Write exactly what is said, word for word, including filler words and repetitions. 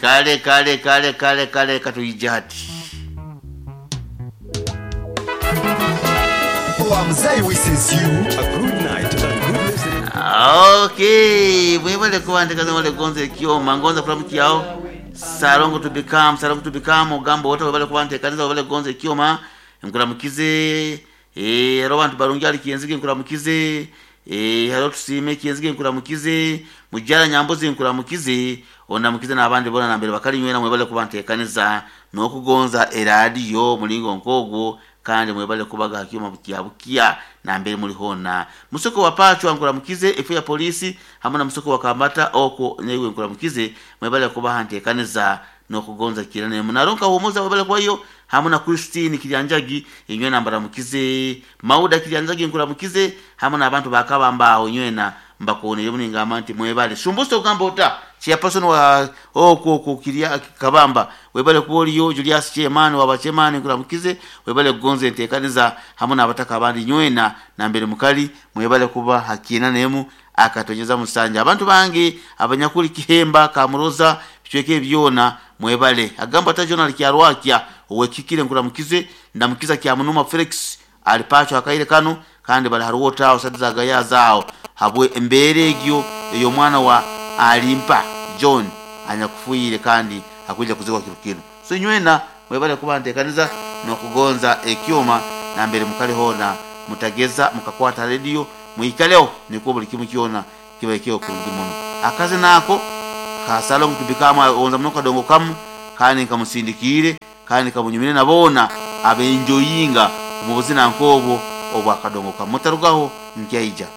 Kale kale kale kale kale katuyije hati. Mzee wishes you A good night and good listening. Okay, mwebale kuwandika mwebale gonza ekyoma ngonza kulamukyao salongo to become salongo to become ogamba wota webale kubanteekaniza webale gonza ekyoma nkulamukize eh haro bantu barungi ali kyenzige nkulamukize eh haro tusime kyenzige nkulamukize mujjala nyambuzi nkulamukize onamukize n'abandi bona nambere bakali nywena mwebale kubanteekaniza n'okugonza eradiyo mulingo nkogwo kandi mwebale kubaga hakiuma bukia bukia nambere muli hona musoko wa pachwa nkulamukize efu ya polisi hamwe na musoko wa kambata oko newe nkulamukize mwebale kubaha ntekaniza n'okugonza kirane munaronka humuza mwebale kwa hiyo hamwe na Christine Kilyanjagi inywe nambaramukize Mauda Kilyanjagi nkulamukize hamwe n'abantu bakabamba inywena mbakuonere muningamba nti mwebale shumbuso ogamba ota chairperson wa okwo okwo kirya kabamba webale kuoliyo Julius Chairman wa chairman nkulamukize webale kugonza enteekaniza hamwe n'abataka abandi nywena nambere mukali mwebale kuba hakina nemu akatonyeza musanja abantu bange abanyakuli kihemba kamuroza bichweke byona mwebale agamba ata Jonal Kyarwakya owekikire nkulamukize ndamukiza kya munuma Felix alipacho akaire kano kandi bali haruwota awo sadiza gaya habwe embere egyo eyo mwana wa alimpa John anyakufuire kandi akuja kuzikwa kino so nywena mwebale kuba ntekaniza n'okugonza ekyoma nambere mukali hona mutageza mukakwata radio muikaleo nikuwa buli kimu kyona kiba ekyo kurungi muno akazi nako kasalo kutubikama onza muno kadongo kamu kandi nkamusindikire kandi kamunyumire nabona abenjoyinga mu buzina nkobwo obwakadongo kamu mutarugaho nkyaija.